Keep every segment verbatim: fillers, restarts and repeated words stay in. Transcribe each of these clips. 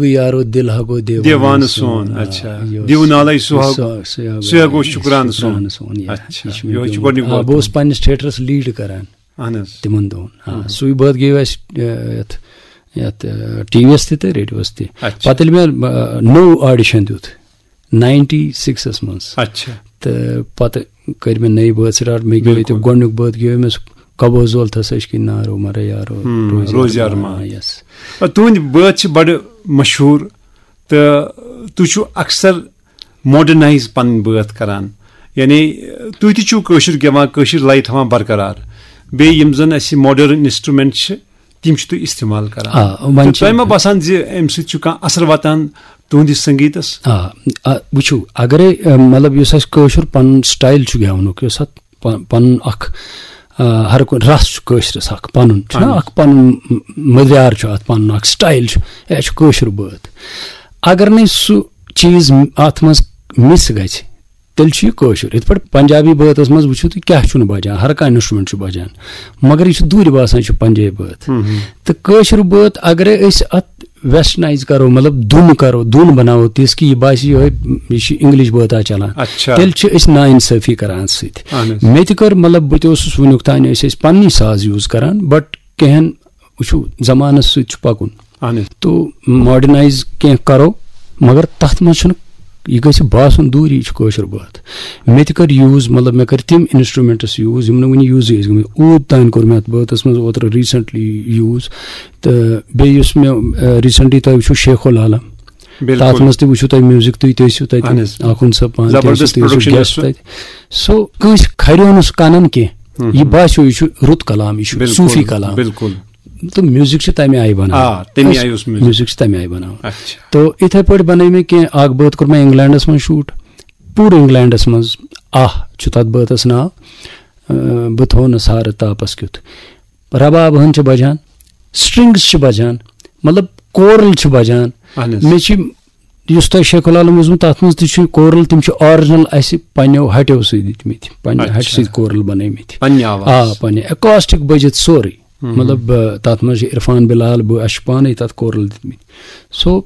گوٚو یارو دِل ہا گوٚو دیوانہٕ دیوانہٕ سون، سون۔ آ، اچھا۔ یہِ اوس دیوٗ نالے سُہ ہا، سُہ، سُہ ہا سُہ ہا گوٚو گوٚو شُکرانہٕ سُن۔ شُکرانہٕ سُن، یا۔ اچھا۔ یہِ چھُ مےٚ یِہوٚے چھُ گوٚمُت۔ گۄڈٕنیُک آ، بوٗٹھ۔ بہٕ اوسُس پننِس تھیٹرس لیڈ کران اہن حظ۔ تِمن دۄہن۔ آ، مہم۔ سُے بٲتھ گیو اَسہِ، آ، یتھ، یتھ، آ، ٹی وی یس تہِ تہٕ ریڈیوس تہِ۔ اچھا۔ پتہٕ ییٚلہِ مےٚ، آ، نوٚو آڈیشن دیُت ناینٹی سکسس منٛز، اچھا۔ تہٕ پتہٕ کٔرۍ مےٚ نٔے بٲتھ سٹارٹ۔ مےٚ گیو ییٚتہِ بِلکُل۔ گۄڈٕنیُک بٲتھ گیو مےٚ سُہ کبو زول تھسا عشقی نارو مرا یارو، ہم، روزِ روزِ ارمان۔ ارمان۔ آ، یس۔ آ، تُہٕنٛدۍ بٲتھ چھِ بڑٕ مشہوٗر تہٕ تُہۍ چھِو اکثر ماڈرنائز پنٕنۍ بٲتھ کران، یعنی تُہۍ تہِ چھِو کٲشُر گٮ۪وان، کٲشِر لَے تھاوان برقرار۔ بیٚیہِ یِم زَن اَسہِ ماڈرن انسٹرومنٹ چھِ، تِم چھِ تُہۍ استعمال کران۔ آ، وۄنۍ تہٕ چھِ تۄہہِ ما باسان زِ اَمہِ سۭتۍ چھُ کانٛہہ اثر واتان تُہٕنٛدِس سنگیٖتس؟ آ، آ، وٕچھِو، اگرے، آ، مطلب، یُس اَسہِ کٲشُر پنُن سٹایل چھُ گٮ۪ونُک، یُس اَتھ پ-، پنُن اکھ، آ، ہر کُنہِ رس چھُ کٲشرِس اکھ پنُن، چھُنہ اہن۔ اکھ پنُن م-، مٔدیار چھُ اَتھ پنُن، اکھ سٹایل چھُ، یہِ چھُ کٲشُر بٲتھ۔ اگر نہٕ سُہ چیٖز م-، اَتھ منٛز مِس گژھِ، تیٚلہِ چھُ یہِ کٲشُر۔ یِتھ پٲٹھۍ پنجابی بٲتس منٛز وٕچھِو تُہۍ، کیٛاہ چھُنہٕ بجان، ہر کانٛہہ انسٹرومنٹ چھُ بجان، مگر یہِ چھُ دوٗرِ باسان، یہِ چھُ پنجابی بٲتھ۔ ہم، ہم۔ تہٕ کٲشُر بٲتھ اگرے أسۍ اتھ ویسٹرنائز کرو، مطلب دُن کرو، دُن بناوو تِژھ کہِ یہِ باسہِ یِہوٚے، یہِ چھُ انگلش بٲتھا چلان، اچھا۔ تیٚلہِ چھِ أسۍ ناانصٲفی کران اَتھ سۭتۍ۔ اہن حظ۔ مےٚ تہِ کٔر، مطلب، بہٕ تہِ اوسُس وٕنیُک تام، أسۍ ٲسۍ پننی ساز یوٗز کران، بٹ کینٛہن، وٕچھِو، زمانس سۭتۍ چھُ پکُن۔ اہن حظ۔ تو ماڈرنائز کینٛہہ کرو، مگر تتھ منٛز چھُنہٕ، یہِ گژھِ باسُن دوٗری، یہِ چھُ کٲشُر بٲتھ۔ مےٚ تہِ کٔر یوٗز، مطلب، مےٚ کٔرۍ تِم انسٹرومنٹس یوٗز، یِم نہٕ وُنہِ یوٗزٕے ٲسۍ گٔمٕتۍ۔ اوٗد تام کوٚر مےٚ اتھ بٲتس منٛز اوترٕ ریسنٹلی یوٗز۔ تہٕ بیٚیہِ یُس مےٚ، آ، ریسنٹلی تۄہہِ وٕچھِو شیخ العالم، بِلکُل۔ تتھ منٛز تہِ وٕچھِو تُہۍ میوٗزک، تُہۍ تہِ ٲسِو تتہِ، اہن حظ۔ آخُن صٲب پانہٕ تہِ ٲسِو، زبردست تُہۍ ٲسِو پروڈکشن گیسٹ یۄس سۄ تتہِ۔ سو کٲنٛسہِ کھریو نہٕ سُہ کنن کینٛہہ۔ ہم، یہِ ہم۔ باسیو، یہِ چھُ رُت کلام، یہِ چھُ بِلکُل، صوٗفی کلام۔ بِلکُل۔ تہٕ میوٗزک چھِ تَمہِ آیہِ بَناوان۔ آ، تَمہِ أسۍ آیہِ اوس میوٗزک۔ میوٗزک چھِ تَمہِ آیہِ بَناوان۔ اچھا۔ تو یِتھَے پٲٹھۍ بَنٲے مےٚ کینٛہہ، اَکھ بٲتھ کوٚر مےٚ اِنگلینڈَس منٛز شوٗٹ، پوٗرٕ اِنگلینڈَس منٛز۔ آہ چھُ تَتھ بٲتَس ناو، اَ، بہٕ تھوو نہٕ سارٕ تاپَس کیُتھ۔ رباب ہن چھِ بَجان، سٹرنگز چھِ بَجان، مطلب کورل چھِ بَجان۔ اہن حظ۔ مےٚ چھِ، یُس تۄہہِ شیخ العالم اوسمُت، تَتھ منٛز تہِ چھُ کورل، تِم چھِ آرجنل اَسہِ پنٛنیو ہَٹیو سۭتۍ دِتمٕتۍ، پنٛنہِ ہَٹہِ اچھا۔ سۭتۍ کورل بَنٲومٕتۍ۔ پنٛنہِ آواز۔ آ، پنٛنہِ ایکاسٹک بٔجِتھ سورُے۔ ہم۔ مطلب، آ، تَتھ منٛز چھِ عرفان بلال، بہٕ، اَسہِ چھِ پانَے تَتھ کورل دِتمٕتۍ۔ سو،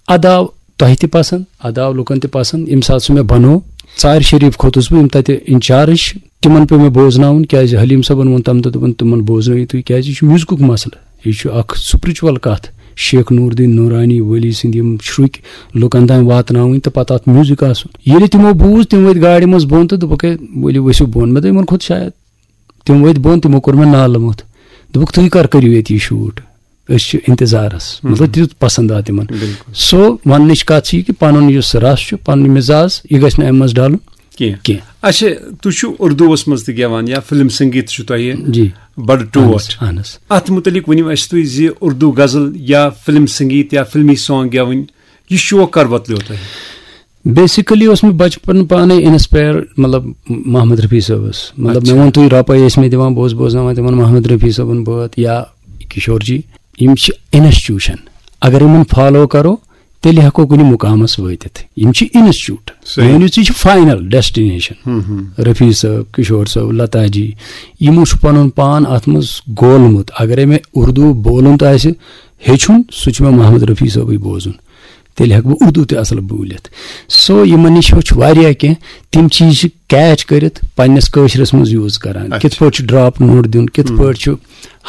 اَدٕ آو تۄہہِ تہِ پَسنٛد، اَدٕ آو لُکَن تہِ پَسنٛد۔ ییٚمہِ ساتہٕ سُہ مےٚ بَنوو، ژارِ شریٖف کھوٚتُس بہٕ، یِم تَتہِ انچارج، تِمَن پیوٚو مےٚ بوزناوُن، کیٛازِ حلیٖم صٲبَن ووٚن تَمہِ دۄہ، دوٚپُن، تِمَن بوزنٲیِو تُہۍ، کیٛازِ یہِ چھُ میوٗزکُک مسلہٕ، یہِ چھُ اَکھ سپرچوَل کَتھ۔ شیخ نوٗر دیٖن نوٗرانی ولی سٕنٛدۍ یِم چھُرُکۍ لُکَن تام واتناوٕنۍ تہٕ پَتہٕ اَتھ میوٗزک آسُن۔ ییٚلہِ تِمو بوٗز، تِم ؤتھۍ گاڑِ منٛز بۄن تہٕ دوٚپُکھ، "ہے، ؤلِو ؤسِو بۄن۔" مےٚ دوٚپ، "یِمَن کھوٚت شاید۔" تِم ؤتھۍ بۄن، تِمو کوٚر مےٚ نالہٕ موٚتھ۔ دوٚپُکھ، "تُہۍ کر کٔرِو ییٚتہِ یہِ شوٗٹ؟ أسۍ چھِ انتظارس۔" ہم۔ مطلب، تیُتھ پسند آو تِمن۔ بِلکُل۔ سو، وننٕچ کتھ چھِ یہِ کہِ پنُن یُس رس چھُ، پنُن مزاج، یہِ گژھِ نہٕ امہِ منٛز ڈلُن کینٛہہ۔ کینٛہہ۔ اچھا، تُہۍ چھِو اردوٗوس منٛز تہِ گٮ۪وان یا فلم سنگیت چھُ تۄہہِ جی۔ بڑٕ اہن ٹوٹھ۔ حظ، اہن حظ۔ اتھ متعلق ؤنِو اسہِ تُہۍ زِ اردو غزل یا فلم سنگیت یا فلمی سانگ گٮ۪وٕنۍ، یہِ شوق کر وۄتلیو تۄہہِ؟ بیسیکلی اوس مےٚ بچپن پانے انسپائر، مطلب، محمد رفیع صٲبس۔ مطلب، اچھا۔ مےٚ ووٚن، تُہۍ رۄپے ٲسۍ مےٚ دِوان، بہٕ اوسُس بوزناوان تِمن محمد رفیع صٲبُن بٲتھ یا کشور جی۔ یِم چھِ انسٹیٹیوشن۔ اگر یِمن فالو کرو، تیٚلہِ ہٮ۪کو کُنہِ مُقامس وٲتِتھ۔ یِم چھِ انسٹیٹیوٹ۔ صحیح۔ مٲنِو تُہۍ، یہِ چھِ فاینل ڈیسٹِنیشن۔ ہم، ہم۔ رفیع صٲب، کشور صٲب، لتا جی، یِمو چھُ پنُن پان اتھ منٛز گولمُت۔ اگرے مےٚ اردو بولُن تہِ آسہِ ہیٚچھُن، سُہ چھُ مےٚ محمد رفیع صٲبٕے بوزُن۔ تیٚلہِ ہٮ۪کہٕ بہٕ اردو تہِ اصل بوٗلِتھ۔ سو، یِمن نِش ہیوٚچھ واریاہ کینٛہہ۔ تِم چیٖز چھِ کیچ کٔرِتھ پننِس کٲشرِس منٛز یوٗز کران۔ اچھا۔ کِتھ پٲٹھۍ چھُ ڈراپ نوٹ دیُن، کِتھ ہم۔ پٲٹھۍ چھُ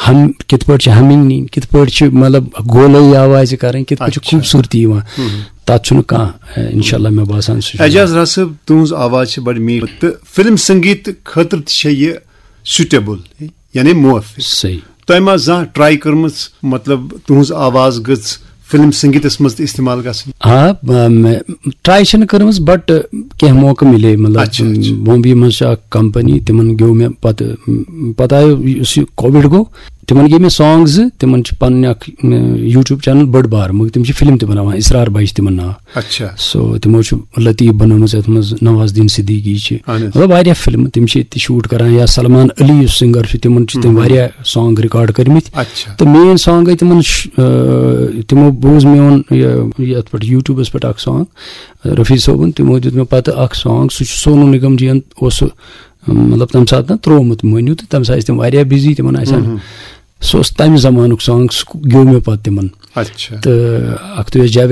ہم، کِتھ پٲٹھۍ چھِ ہمنگ نِنۍ، کِتھ پٲٹھۍ چھِ، مطلب، گولٲیی آوازِ کرٕنۍ، کِتھ پٲٹھۍ چھِ اچھا۔ خوٗبصوٗرتی یِوان۔ ہم۔ تتھ چھُنہٕ کانٛہہ، اے، انشاءاللہ، مےٚ باسان، سُہ چھُ اعجاز راز صٲب، تُہٕنٛز آواز چھِ بڑٕ میٖٹھ تہٕ فلم سنگیت خٲطرٕ تہِ چھےٚ یہِ سوٗٹیبل، یعنی موافق۔ صحیح۔ تۄہہِ ما زانٛہہ ٹرائی کٔرمٕژ، مطلب، تُہٕنٛز آواز گٔژھ فلم سنگیتس منٛز تہِ استعمال گژھٕنۍ؟ آ، ب-، مےٚ ٹرائی چھَنہٕ کٔرمٕژ، بٹ کینٛہہ موقعہٕ مِلے، مطلب، اچھا، اچھا۔ بومبے منٛز چھِ اکھ کمپنی، تِمن گیوٚو مےٚ پتہٕ، پتہٕ آیو یُس یہِ کووِڈ گوٚو، تِمن گے مےٚ سانگز، تِمن چھِ پنٕنۍ اکھ، م، یوٗٹیوب چینل بٔڑ بار، مگر تِم چھِ فلم تہِ بناوان، اسرار بھائی چھِ تِمن ناو۔ اچھا۔ سو تِمو چھُ لطیف بنٲومٕژ، یتھ منٛز نواز الدین صدیقی چھِ۔ اہن حظ۔ مطلب، واریاہ فلمہٕ تِم چھِ ییٚتہِ تہِ شوٗٹ کران، یا سلمان علی یُس سنگر چھُ، تِمن چھِ تِم ہم۔ واریاہ سانگ ریکارڈ کٔرمٕتۍ۔ اچھا۔ تہٕ مین سانگ گٔے تِمن ش-، آ، تِمو بوٗز میون یہِ، یتھ پٮ۪ٹھ یوٗٹیوبس پٮ۪ٹھ اکھ سانگ رفیع صٲبُن، تِمو دیُت مےٚ پتہٕ اکھ سانگ، سُہ چھُ سونو نگم جی ین اوس سُہ، مطلب، تمہِ ساتہٕ نا ترٛوومُت، مٲنِو تہٕ تمہِ ساتہٕ ٲسۍ تِم واریاہ بزی، تِمن آسہِ ہا نہٕ۔ ہم۔ سُہ اوس تمہِ زمانُک سانگ، سُہ گیوٚو مےٚ پتہٕ تِمن۔ اچھا۔ تہٕ اَکھتُے اوس جابر